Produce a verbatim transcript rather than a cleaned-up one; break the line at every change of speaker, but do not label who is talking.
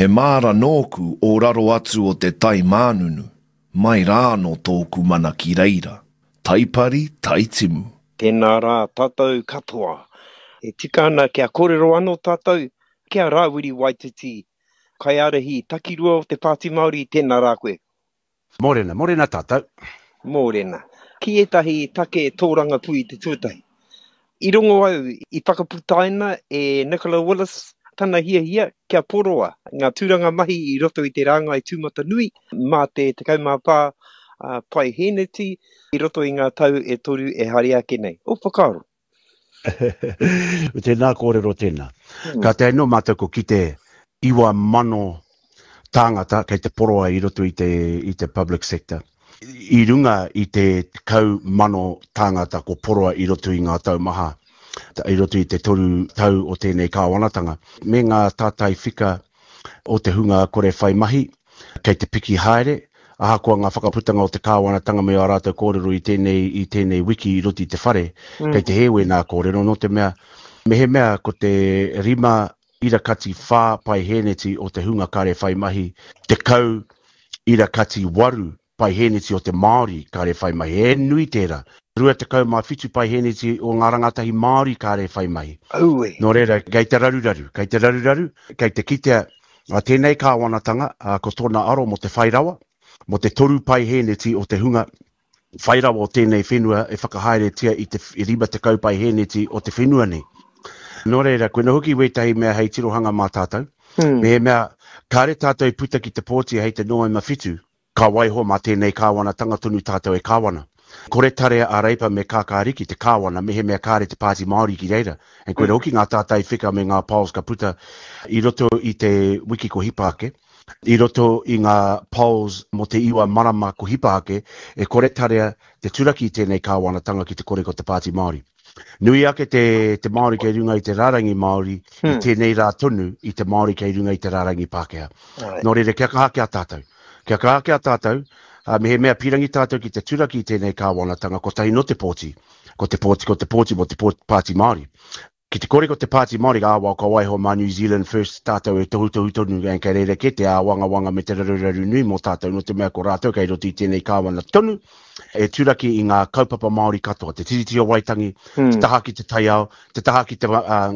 He māra nōku o raro atu o te tai mānunu, mai rānō tōku mana ki reira. Taipari, taitimu.
Tēnā rā tātou katoa. E tika ana kia kōrero anō tātou ki a Rāwiri Waititi, kaiārahi takirua o te Pāti Māori, tēnā rā koe.
Mōrena, mōrena tātou.
Mōrena. Ki ētahi take tōrangapū i te tuatahi. I rongo au i whakaputaina e Nicola Willis tana hiahia kia poroa ngā tūranga mahi i roto i te rāngai tūmatanui mā te tekau mā whā paihēneti i roto i ngā tau e toru e haere ake nei. Ō whakaaro?
Tēnā kōrero tēnā. Kātahi anō mātou ko kite iwa mano tāngata kei te poroa i roto i te, i te public sector. I runga i te tekau mano tāngata ko poroa i roto i ngā tau maha, i roto i te toru tau o tēnei kāwanatanga, me ngā tātai whika o te hunga kore whai mahi, kei te piki haere, ahakoa ngā whakaputanga o te kāwanatanga me ā rātou kōrero i tēnei, i tēnei wiki i roto i te whare, mm. kei te hē wēnā kōrero, nō te mea, mehemea ko te rima ira kati whā paihēneti o te hunga kare whai mahi, tekau ira kati waru paihēneti o te Māori kare whai mahi. He nui tērā. Rua tekau mā whitu paihēneti o ngā rangatahi Māori kare whai mahi.
Aue.
Nō reira, kei te raruraru, kei te raruraru, kei te kitea a tēnei kāwanatanga, ā, ko tōna aro mō te whai rawa, mō te toru paihēneti o te hunga whai rawa o tēnei whenua e whakahaeretia i te rima tekau paihēneti o te whenua nei. Nō reira, koina hoki wētahi mea hei tirohanga mā tātou. Mm. Mehemea, kāre tātou i puta ki te pōti hei te Noema whitu, ka waiho mā tēnei kāwanatanga tonu tātou e kāwana. Kore tarea a Reipa me Kākāriki te kāwana mehemea kāre te Pāti Māori ki reira. And koina hoki ngā tātai whika me ngā polls ka puta i roto i te wiki ko hipa ake, i roto i ngā polls mō te iwa marama ko hipa ake, e kore tarea te turaki i tēnei kāwanatanga ki te kore ko te Pāti Māori. Nui ake te, te Māori kei runga i te rārangi Māori hmm. i tēnei rā tonu i te Māori kei runga i te rārangi Pākehā. Right. Nō reira, kia kaha ki a tātou. Kia kaha ki a tātou, uh, mehemea pīrangi tātou ki te turaki i tēnei kāwanatanga, kotahi no te pōti. Ko te pōti, ko te pōti mō te pōti, Pāti Māori. Ki te kore ko te Pāti Māori, ā, wā, ka waiho mā New Zealand First tātou e tohutohu tonu, and kei reira kē te āwangawanga me te raruraru nui mō tātou, nō te mea ko rātou kei roto i tēnei kāwana tonu, e turaki i ngā kaupapa Māori katoa, te Tiriti o Waitangi, mm. te taha ki te taiao, te taha ki te, uh, ngā